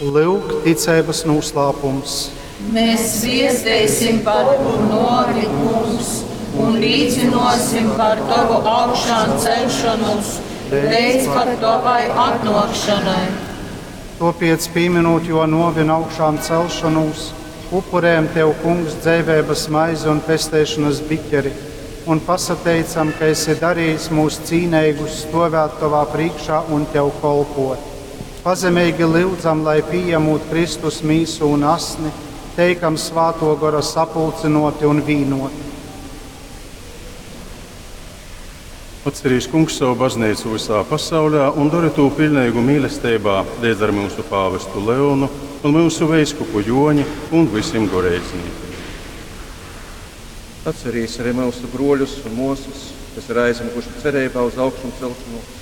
Lyuk, ticeibas nūslāpums. Mēs zviesteisim par Tovu nōvi, Kungs, un līcynōsim par Tovu augšānceļšonūs leidz pat Tovai atnōkšanai. Tōpēc, pīminūt Jō nōvi un augšām celšonūs, upurējam Tev, Kungs, dzeiveibas maizi un pesteišonas biķeri, un pasateicam, ka esi darījis mūs cīneigus stovēt Tovā prīškā un Tev kolpot. Pazemeigi lyudzam, lai pījemūt Kristus mīsu un asni, teikam Svāto Gora sapulcinoti un vīnoti. Atcerīs, Kungs, savu baznīcu visā pasaulē un dari to pilnīgu mīlestībā līdz ar mūsu pāvestu Leonu un mūsu veiskupu Joņi un visiem goreizniekiem. Atcerīs arī mūsu broļus un mūsas, kas ir aizmukuši cerībā uz augšām celšanos,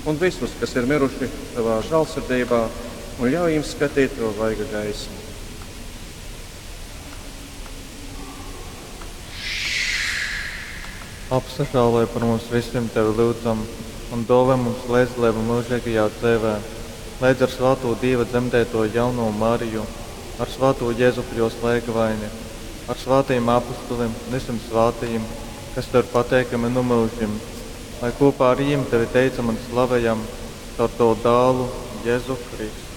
un visus, kas ir miruši tavā žēlsirdībā, un ļauj viņiem skatīt to vaiga gaismu. Apsažāloj par mums visiem tevi lūdzam un dāvā mums līdzdalību mūžīgajā dzīvē, līdz ar svāto Dieva dzemdēto jauno Mariju, ar svāto Jēzupu jos lēgavaini, ar svātajiem apustuliem un visiem svātajiem, kas tev ir pateikami nu mūžim, lai kopā ar viņiem tevi teicam un slavējam caur tavu dālu Jēzu Kristu.